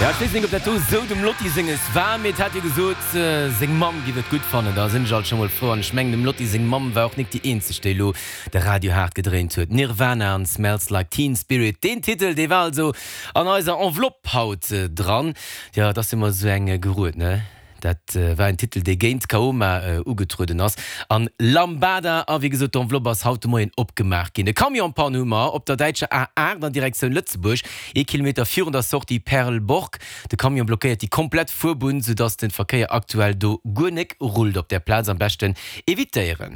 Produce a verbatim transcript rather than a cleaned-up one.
Ja, ech weess nik, ob dat do sou dem Lotti senges war, mee et hat jo gesot, seng Mamm giff et gutt fannen. Da sinn ech alt scho mol frou. An ech mengen, dem Lotti seng Mamm war och nik déi eenzeg, déi elo de Radio haart gedréint huet. Nirvana an Smells Like Teen Spirit, deen Titel, dee war also an eiser Enveloppe haut dran. Jo, et ass jo mol sou eng gerued, ne? Dat war en Titel, dee géint Kaoma ugetrueden ass. An Lambada. A wéi gesot, d'Enveloppe ass haut de Moien opgemaach ginn. E Camion-Panne hu mer op der däitscher A aacht an Direktioun Lëtzebuerg, ee Kilometer virun der Sortie Perleborg. De Camion blockéiert déi komplett Fuerbunn, soudass de Verkéier aktuell do guer nek rullt op där Plaz. Am beschten evitéieren.